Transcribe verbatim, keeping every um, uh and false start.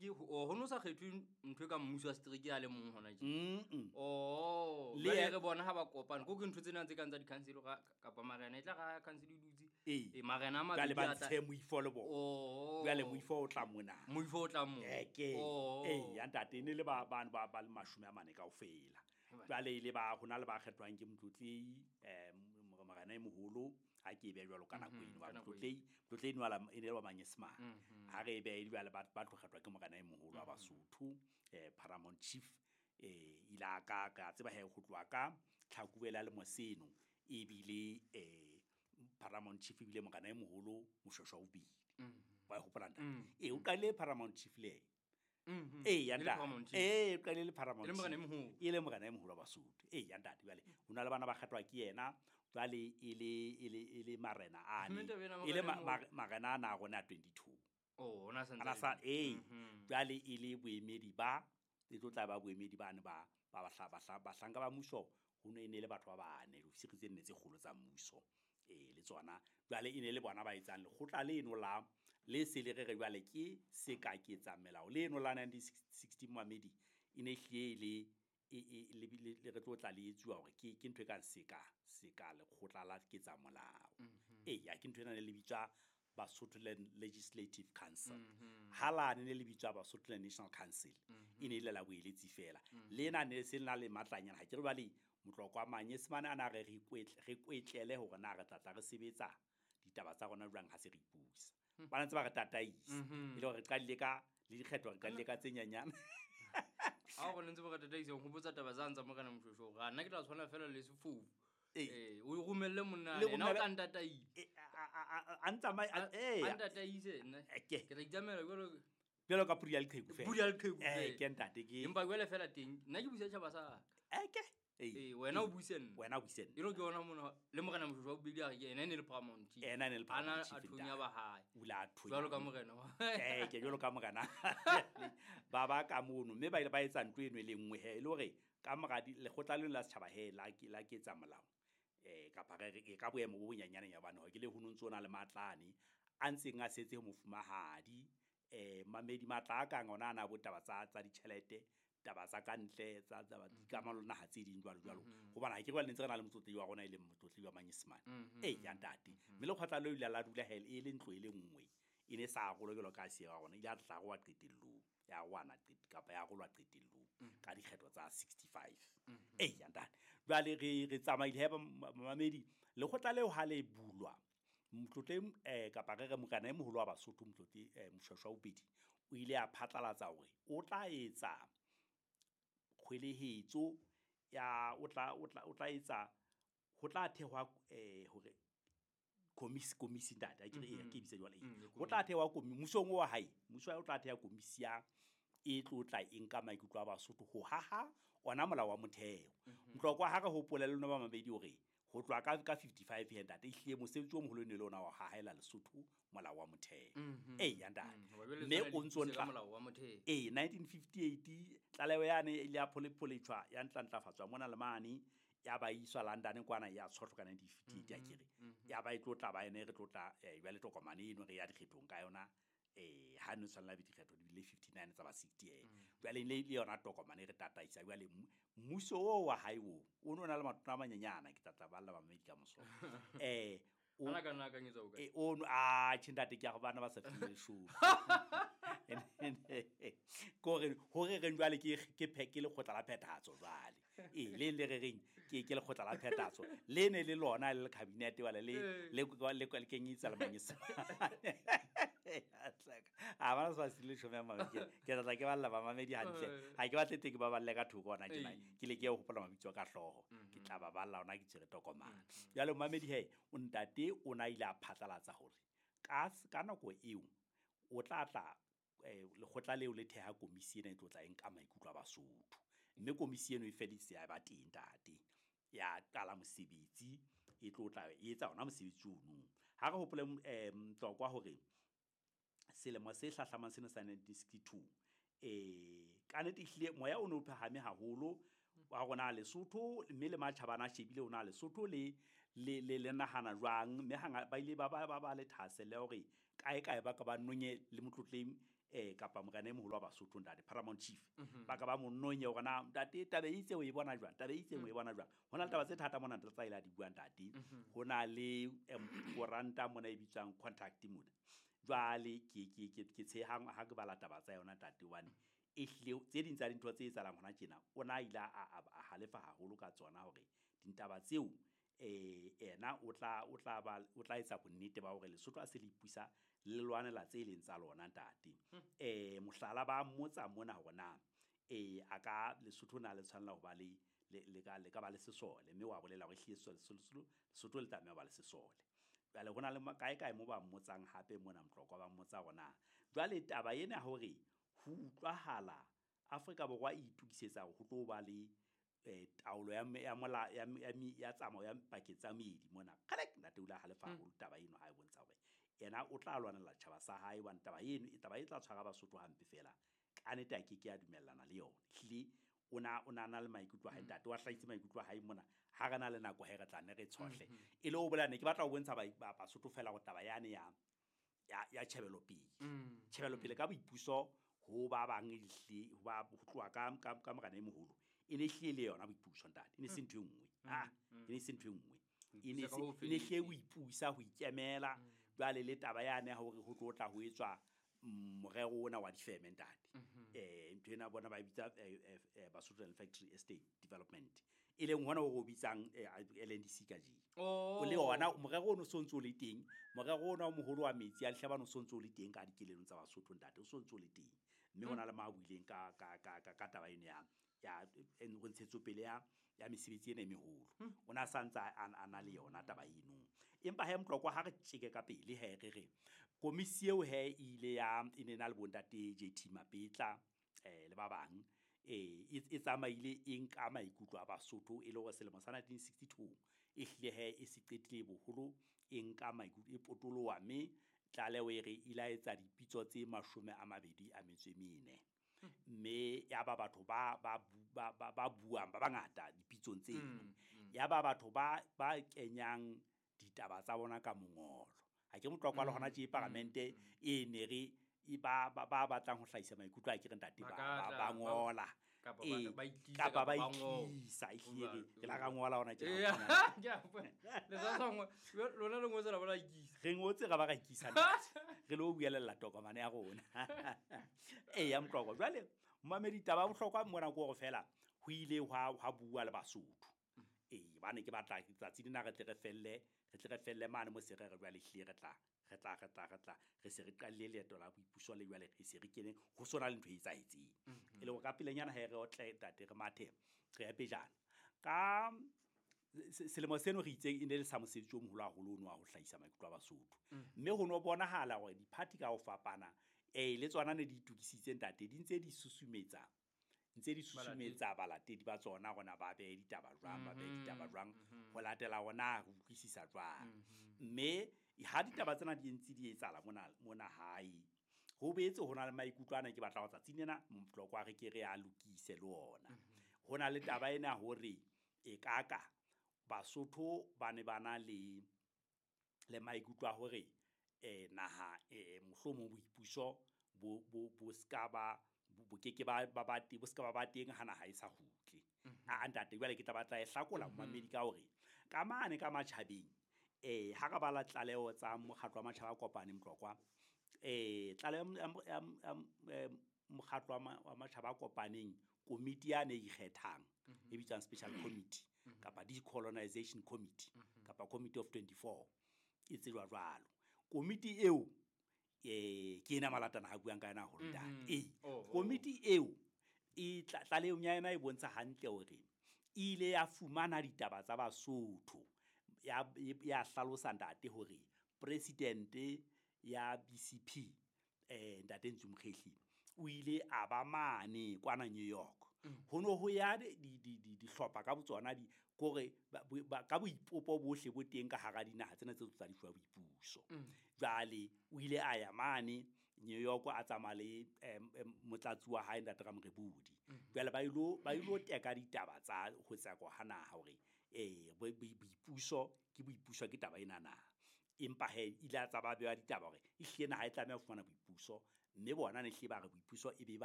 setereke o ho no sa kgethwe ntho e ka mmuso wa setereke a le mong hona tje. Mm. Oh, Le jwale ye- re bona ha ba kopana ko ke ntho tsena tse kang tsa di-council kapa marena e tla ra council e dutse. Ee. Eh, marena a Jwale mabedi ba a tla- ntshe moifo le bona. Oh. Jwale moifo o tla mona. Moifo o tla moo. Eh, ke Oh. ee ya ntate e ne le ba bano ba ba le mashome a mane kaofela. Jwale e le ba ho na le ba kgethwang ke motlotlehi um morena e moholo ha ke e beha jwalo ka nako eno. ka Ba nako eno. motlotlehi motlotlehi eno ala- e ne le wa manyesemane. Ha re e beha jwale ba ba tlo kgethwa ke morena e moholo wa Basotho eh Paramount Chief eh ile a ka ka tseba he ho tloha ka Tlhakubele a lemo seno ebile eh Paramount Chief ebile morena e moholo Moshweshwe wa bobedi. Wa e hopola ntate? Ee, o qadile Paramount Chief le yena. Mhm. Ee, ya E le ntate. Paramount Chief. Ee, o qadile le Paramount E le morena e Chief. moholo. E le morena e moholo wa Basotho. Ee, ya ntate. Jwale ho na le bana ba kgethwa ke yena jwale e le e le e le marena ane. Mme taba ena E le morena e ma- moholo. ma- marena ana a rona a twenty-two. Oh, ona sa ntse Ana a le sa teng. ee, Mhm. jwale e le boemedi ba e tlo tla ba boemedi bane ba ba bahla- bahla- bahlanka ba mmuso ho ne e ne le batho ba bane diofisiri tse nne tse kgolo tsa mmuso. Ee, le tsona jwale e ne le bona ba etsang lekgotla leno la le se le re re jwale ke se ka ke etsa melao leno la nineteen sixty momamedi e ne ehlile e le e e le le le re tlo tla le etsuwa hore ke ke ntho e kang seka seka lekgotla la ketsa molao. Eya, ke ntho ena ne le bitswa Basotho Land Legislative Council. Ha lane ne le bitswa Basotho Land National Council. E ne e le la boeletsi feela. Lena ne se le na le matlanyana ha ke re jwale motloko wa manyesemane ana re re ikwetle re kwetlele hore na re tla tla re sebetsa ditaba tsa rona jwang ha se re ipusa. Ba ntse ba re tataisa. E le hore re qadile ka le dikgetho re qadile ka tse nyenyane. Ha o re ntse ba re tataisa ho hopotsa taba tsa ntsa morena Moshweshwe hore nna ke tla tshwana fela le sefofu. Ee. Eh, o romelle monna Le ena o romele- tla ntataisa. Eh, a- a- a- a ntsamai- a- A ee. a ntataise nna. Eh, ke. Ke tla itsamaela jwalo Jwalo ka pudi ya leqheku fela. Pudi ya leqheku Eh, fela. ke ntate ke. Empa jwale fela teng nna ke busa tjhaba sa ka. Eh, ke. Ee. Eh, wena o buse nna. Wena o buse nna. E le ke yona mona le morena Moshweshwe wa bobedi a re ke ena e ne le Paramount Chief. Ena e ne le Ana Paramount a Chief, thonya ntate. ba hae. O ile a thonya. Jwalo ka morena wa. Eh, ke jwalo ka morena. Ba ba ka mono mme ba ile ba etsa ntho eno e le nngwe he e le hore ka mora di lekgotla leno la setjhaba he la ke la ketsa molao. Eh, kapa re re e ka boemo bo bonyenyane ya bana ke le ho no ntso na le matlane a ntseng a setse ho mofumahadi eh mamedi matla a kang ona ana bo taba tsa tsa ditjhelete taba tsa ka ntle tsa tsa dikamano le naha tse ding jwalo jwalo. Hobane ha ke re le ntse re na le motlotlehi wa rona e leng motlotlehi wa manyesemane. Ee, ya ntate. Mme lekgotla leo ile la dula he e le ntlo e le nngwe. E ne sa arolwa jwalo ka se ya rona. Ile ya tla arolwa qetellong. Ya arolwana qet-, kapa ya arolwa qetellong ka dikgetho tsa sixty-five. Ee, ya ntate. Jwale re re tsamaile he mamedi lekgotla leo ha le bulwa motlotlehi eh kapa re re morena e moholo wa Basotho motlotlehi eh, Moshweshwe wa bobedi o ile a phatlalatsa hore o tla etsa kgwelehetso ya o tla o tla o tla etsa ho tla thehwa eh hore komisi komisi ntate ha ke re ee, ke bitsa jwale Mm, ho tla thehwa komi mmusong wa hae mmuso wa hae o tla theha komisi ya e tlo tla e nka maikutlo a Basotho ho haha ona molao wa motheo. Motlokwa ha re hopole le lona ba mabedi hore ho tloha ka ka fifty-five he ntate ehlile mosebetsi o moholo e ne le ona wa hahela Lesotho molao wa motheo. Ee, ya ntate. Mm, hoba jwale Mme tshwana o le ntso ipuse ka ntla molao wa motheo. Ee, nineteen fifty-eight tlaleho yane e ile ya pholepholetjhwa ya ntlafatswa mona le mane ya ba iswa London kwana ya tshohlwa ka nineteen fifty-eight ya kere. Ya ba e tlo tla ba ene re tlo tla eh, jwale tokomane eno re ya dikgethong ka yona eh ha no tshwanela be dikgetho di bile fifty-nine tsa ba sixty eh. Jwale le le yona tokomane e re tataisa jwale mmu-, mmuso oo wa hae oo o no na le matona a manyenyana ke tla tla balla bamamedi ka moso. Eh, o Ana ka nna akanyetsa o kae? Eh, o no, ah, tjhe ntate, ke a go bana ba sa fihlile leshome. Kore hore re jwale ke ke phe-, ke lekgotla la phethahatso jwale. Ee, le le re reng ke ke lekgotla la phethahatso. Le ne le lona le cabinet wala le Ee. le le le kenyetsa le manyesemane. A bana sa sile leshome ya mamedi. Ke tla tla ke balla ba mamedi hantle. Ee. Ha ke batle teng ke ba balle ka thoko hona tjena. Ee. Ke le ke ho hopola mabitso a ka hlooho. Ke tla ba balla hona ke tshwere tokomane. Jwale mamedi he, o ntate o na ile a phatlalatsa hore ka s-, ka nako eo o tla tla eh, lekgotla leo le theha komisi ena e tlo tla e nka maikutlo a Basotho. Mme komisi eno e feditse ya ba teng ntate. Ya qala mosebetsi e tlo tla e etsa ona mosebetsi ono. Ha re hopole, eh, Mtlokwa hore selemo se hlahlamang sena sa nineteen sixty-two eh, ka nnete ehlile moya o ne o phahame haholo wa rona Lesotho mme le matjhaba ana a shebile ona Lesotho le, le, le, le nahana jwang mme hanga ba ile ba ba, ba, ba le thahasello ya hore kae kae ba ka ba nonye le motlotlehi eh kapa morena e moholo wa Basotho ntate Paramount Chief ba ka ba mononye hore na ntate taba e itse o e bona jwang, taba e itse o e bona jwang. Ho na le taba tse thata mona ntate tsa ile a di buang ntate. Ho na le koranta mona e bitswang Contact mona. Jwale ke ke ke ke tshehang ha ke bala taba tsa yona ntate hobane e hlile tse ding tsa dintho tse etsahalang hona tjena o na ile a a halefa haholo ka tsona hore dintaba tseo eh ena o tla o tla ba o tla etsa bonnete ba hore Lesotho a se le ipusa le lwanela tse leng tsa lona ntate. Eh mohlala ba mmotsa mona hore na eh a ka Lesotho na le tshwanela ho ba le le ka le ka ba le sesole, mme wa bolela hore hlile sesole Lesotho le tlameha ho ba le sesole. Jwale hona le kae kae mo ba mmotsang hape mona Motlokwa ba mmotsa hore na jwale taba ena hore ho utlwahala Afrika Borwa e itokisetsa hore ho tlo ba le eh taolo ya ya mola ya ya tsamao ya pakeng tsa meedi mona. Kgalek ntate o ile a halefa haholo taba eno ha e bontsha hore yena o tla lwanela tjhaba sa hae hobane taba eno e taba e tla tshwara Basotho hampe fela. Ka nnete a ke ke a dumellana le yona. Hlile o na o na na le maikutlo a hae ntate, wa hlahisa maikutlo a hae mona. Ha re na le nako he re tla nne re tshohle. E le ho bolela ne ke batla ho bontsha ba Basotho fela hore taba yane ya ya ya tjhebelopele. Tjhebelopele ka boipuso ho ba bang ehle ho ba ho tloha ka ka ka morena e moholo. E ne hlile le yona boipuso ntate. E ne se ntho e nngwe. Ah, e ne se ntho e nngwe. E ne se ne hle ho ipusa ho ikemela. Jwale le taba yane ya hore ho tlo tla ho etswa morero ona wa difeme ntate. Eh ntho ena bona ba bitsa Basotho Land Factory Estate Development. E leng hona ho bitsang L N D C ka jeno. O le ona morero ono so ntso le teng, morero ona o moholo wa metsi a lehlabano so ntso le teng ka dikelelong tsa Basotho ntate, o so ntso le teng. Mme hona le ma buileng ka ka ka ka taba eno ya ya ho ntshetsopele ya ya mesebetsi ena e meholo. O na sa ntsa a na le yona taba eno. Empa he Motlokwa ha re tjeke ka pele he re re komisi eo he ile ya e ne na le bontate J T Mapetla eh le ba bang eh e tsamaile e nka maikutlo a Basotho e le hore selemo sa nineteen sixty-two e hlile he e se qetile boholo e nka maikutlo e potoloha mme tlaleho e re ile etsa dipitso tse mashome a mabedi a metso e mene. Mme ya ba batho ba ba ba ba buang ba bangata dipitsong tseno. Ya ba batho ba ba kenyang ditaba tsa bona ka mongolo. Ha ke Motlokwa le hona tje paramente e ne re e ba ba batlang ho hlahisa maikutlo a ke re ntate ba ba ngola kapa ba itlisa ehlile re la ra ngola hona tje. Le sa sangwe lona le ngotse la ba la ikisa. Re ngotse ra ba ra ikisa ntate. Re lo buelella tokomane ya rona. Eh ya Motlokwa jwale momamedi taba bohlokwa mona ke hore fela ho ile hwa hwa bua le Basotho. Eh bane ke batla tsatsi lena re tle re felle re tle re felle mane mo se re re jwale hlile re tla re tla re tla re tla re se re qalile leeto la boipuso le jwale re se re kene ho sona le ntho e etsahetseng. E le hore ka pelenyana he re otle ntate re mathe re ya pejana. Ka selemo seno re itse e ne le sa mosebetsi o moholo haholo ono wa ho hlahisa maikutlo a Basotho. Mme ho no bonahala hore di-party ka ho fapana eh le tsona ne di itukisitse ntate di ntse di susumetsa ntse di susumetsa balatedi ba tsona rona ba behe ditaba jwang ba behe ditaba jwang ho latela hona re utlwisisa jwang. Mme ha ditaba tsena di ntse di etsahala mona mona hae ho boetse ho na le maikutlo ana ke batla ho tsatsing lena Motlokwa re ke re a lokise le ona. Ho na le taba ena hore e kaka Basotho ba ne ba na le le maikutlo a hore eh naha eh mohlomong boipuso bo bo bo ska ba bo ke ke ba ba ba bo ska ba ba teng ha naha e sa kgutle. A ntate jwale ke tla batla e hlakola momamedi ka hore ka mane ka matjhabeng eh ha ka bala tlaleho tsa mokgatlo wa matjhaba a kopaneng Motlokwa eh tlaleho ya mokgatlo wa matjhaba a kopaneng komiti ya ne ikgethang e bitswang special committee kapa decolonization committee kapa committee of twenty-four e tsejwa jwalo. Komiti eo eh ke ena malatana ha buang ka yena haholo ntate. Eh komiti eo e tlalehong ya yona e bontsha hantle hore e ile ya fumana ditaba tsa Basotho ya ya hlalosa ntate hore president ya B C P eh ntate Ntsu Mokhehle o ile a ba mane kwana New York. Ho no ho ya di di di dihlopha ka botsona di kore ka boipopo bohle bo teng ka hara dinaha tsena tse tsa difuwa boipuso. Jwale o ile a ya mane New York a tsamaya le motlatsi wa hae ntate Ramorebodi. Jwale ba ilo ba ilo teka ditaba tsa ho tseko ha naha hore eh boipuso ke boipuso ke taba ena na. Empa he ile a tsaba bewa ditaba hore e hlile naha e tlameha ho fumana boipuso Mme bona ne hlile ba re boipuso e be ba